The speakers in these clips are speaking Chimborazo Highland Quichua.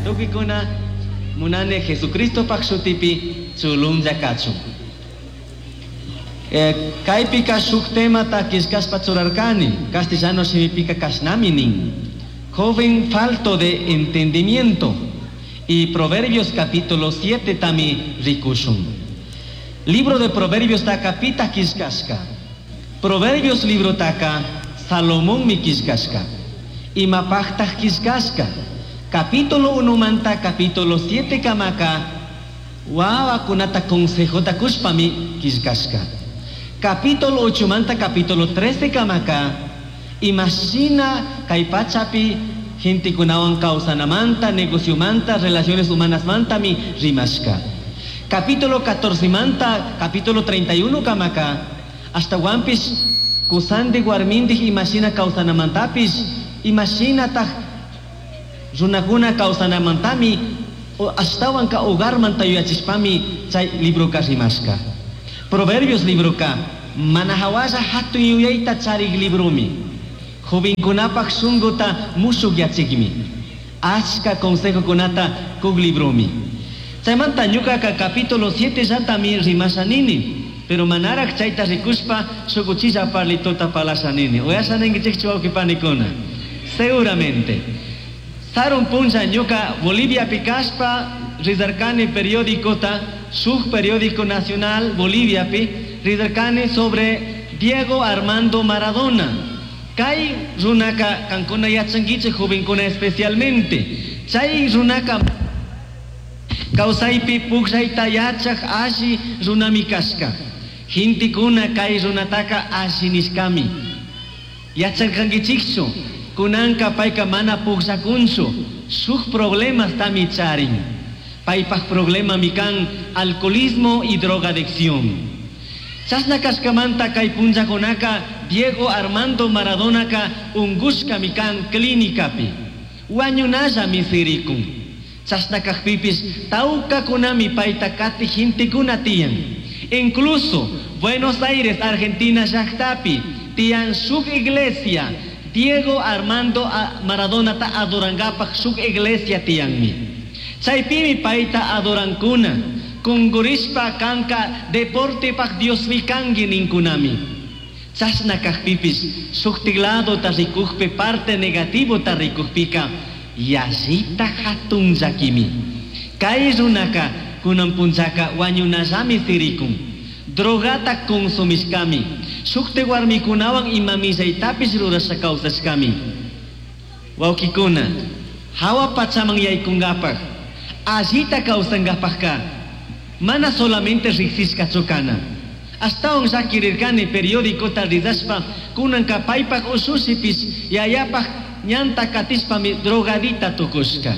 Tukuykuna munani Jesucristopaj shutipi chulunlla kachun. Kaypika shuk temata killkashpa churarkani, castellano shimipika kashnami nin: "Joven falto de entendimiento". Y Proverbios capítulo 7 tami rikushun. Libro de Proverbios taka pitaj killkashka? Proverbios librotaka Salomonmi killkashka. Imapajtaj killkashka? Capítulo 1 manta capítulo 7 kamaka wawakunata consejota kushpami killkashka. Capítulo 8 manta capítulo 13 kamaka imashina kay pachapi gentekunawan kawsanamanta, negociomanta, relaciones humanasmantami rimashka. Capítulo 14 manta capítulo 31 kamaka ashtawanpish kusandik warmindik imashina kawsanamantapish, imashinataj runakuna kawsanamantami, ashtawanka hogarmanta yuyachishpami chay libroka rimashka. Proverbios libroka mana hawalla hatun yuyayta charik libromi. Jovenkunapaj shunkuta mushukyachikmi. Achka consejokunata kuk libromi. Chaymanta ñukaka capítulo 7 llatami rimasha nini. Pero manaraj chayta rikushpa shuk uchilla parlitota parlasha nini. Uyasha ninkichikchu, wawqi panikuna? Seguramente. Sarun punlla ñuka Boliviapi kashpa rizarkani periódicota, shuk periódico nacional Boliviapi, rizarkani sobre Diego Armando Maradona. Kay runaka kankuna yachankichik, jovenkuna especialmente. Chay runaka kawsaypi pukllayta yachaj alli runami kashka. Gentekuna kay runataka alli nishkami. Yacharkankichikchu, kunanka payka mana pukllakunchu, shuk problemastami charin. Paypaj problemami kan alcoholismo y drogadicción. Chashna kashkamanta kay punllakunaka Diego Armando Maradonaka ungushkami kan clínicapi. Wañunallami sirikun. Chashna kajpipish tawkakunami payta kati gentekuna tiyan. Incluso Buenos Aires, Argentina llaktapi tiyan shuk iglesia Diego Armando Maradonata adorankapaj shuk iglesia tiyanmi. Chaypimi payta adorankuna. Kungurishpa kanka deportepaj Diosmi kanki ninkunami. Chashna kajpipish shuktik ladota rikujpi, parte negativota rikujpika yallita hatun llakimi. Kay runaka kunan punllaka wañunallami sirikun. Drogata consumishkami. Shukti warmikunawan ima millaytapish rurasha kawsashkami. Wawkikuna, hawa pachaman yaykunkapaj, allita kawsankapajka, mana solamente riksishkachu kana. Ashtawan llakirirkani periódicota rizashpa kunanka paypaj ushushipish yayapaj ñanta katishpami drogadita tukushka.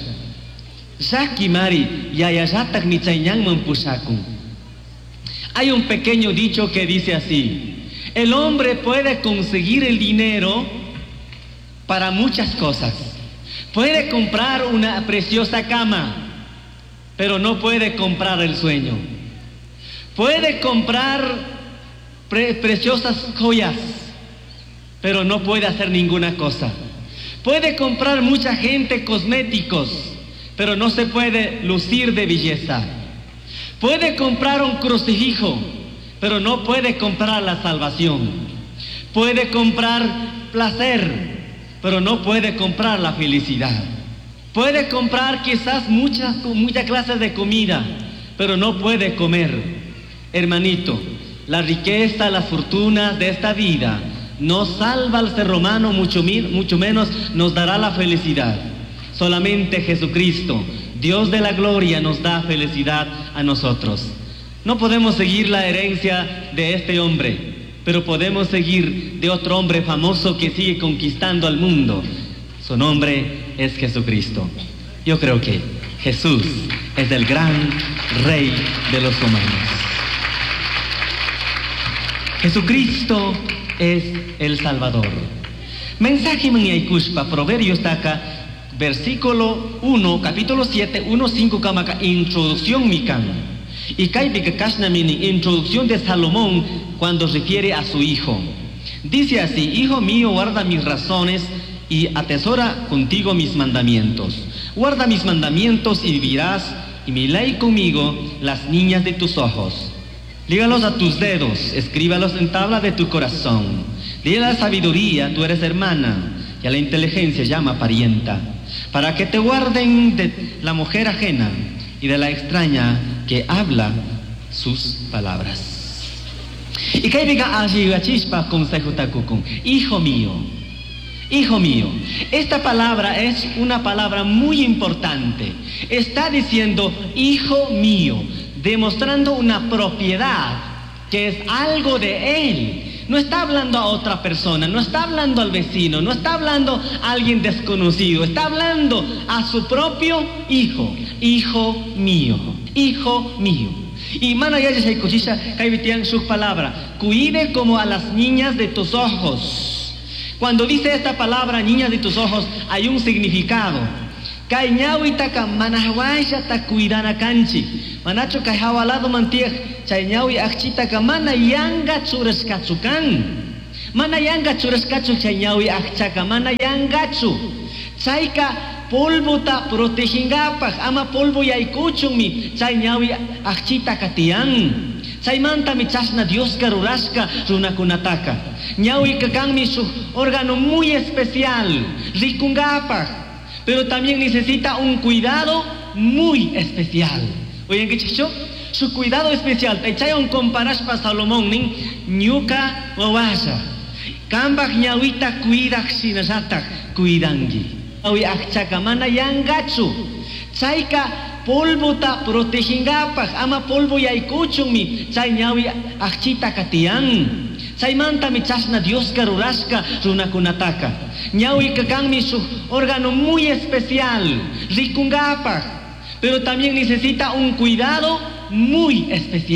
Llakimari yayallatakmi chay ñanman pushakun. Hay un pequeño dicho que dice así: el hombre puede conseguir el dinero para muchas cosas. Puede comprar una preciosa cama, pero no puede comprar el sueño. Puede comprar preciosas joyas, pero no puede hacer ninguna cosa. Puede comprar mucha gente cosméticos, pero no se puede lucir de belleza. Puede comprar un crucifijo, pero no puede comprar la salvación. Puede comprar placer, pero no puede comprar la felicidad. Puede comprar quizás muchas, muchas clases de comida, pero no puede comer. Hermanito, la riqueza, las fortunas de esta vida no salva al ser humano, mucho menos nos dará la felicidad. Solamente Jesucristo, Dios de la gloria, nos da felicidad a nosotros. No podemos seguir la herencia de este hombre, pero podemos seguir de otro hombre famoso que sigue conquistando al mundo. Su nombre es Jesucristo. Yo creo que Jesús es el gran rey de los humanos. Jesucristo es el Salvador. Mensaje yaykushpa, Proverbios taka, versículo 1, capítulo 7, 1, 5 kamaka, introducción mi kan. Y kaypika kashnami nin, introducción de Salomón cuando refiere a su hijo. Dice así: "Hijo mío, guarda mis razones y atesora contigo mis mandamientos." Guarda mis mandamientos y vivirás, y mi ley conmigo, las niñas de tus ojos. Lígalos a tus dedos, escríbalos en tabla de tu corazón. Dile a la sabiduría, tú eres hermana, y a la inteligencia llama parienta, para que te guarden de la mujer ajena y de la extraña que habla sus palabras. Y kaypiqa alli yuyachishpa consejota kukun. Hijo mío, hijo mío, esta palabra es una palabra muy importante. Está diciendo hijo mío, demostrando una propiedad que es algo de él. No está hablando a otra persona, no está hablando al vecino, no está hablando a alguien desconocido, está hablando a su propio hijo. Hijo mío, hijo mío. Y mana yachashaykuchisha kaypi tiyan shuk palabra. Cuide como a las niñas de tus ojos. Cuando dice esta palabra, niñas de tus ojos, hay un significado. Kay ñawitaka mana huashata cuidana kanchik. Manachu kay hawa ladoman tiyaj chay ñawi akchitaka mana yanga churashkachu kan. Mana yanga churashkachu chay ñawi akchaka, mana yangachu. Chayka polvota protegingapaj, ama polvo yaykuchunmi chay ñawi akchitaka tiyan. Chaymantami chashna Dioska rurashka runakunataka. Ñawika kanmi shuk órgano muy especial, rikungapaj, pero también necesita un cuidado muy especial. Uyankichikchu? Su cuidado especial. Chaywan comparashpa Salomón nin ñuka wawalla. Kambaj ñawita cuidaj shinallataj cuidanki. Ñawi akchaka mana yangachu. Chayka polvota protegingapaj, ama polvo yaykuchunmi chay ñawi akchitaka tiyan. Chaymantami chashna Dioska rurashka runakunataka. Ñawika kanmi shuk órgano muy especial, rikungapaj, pero también necesita un cuidado muy especial.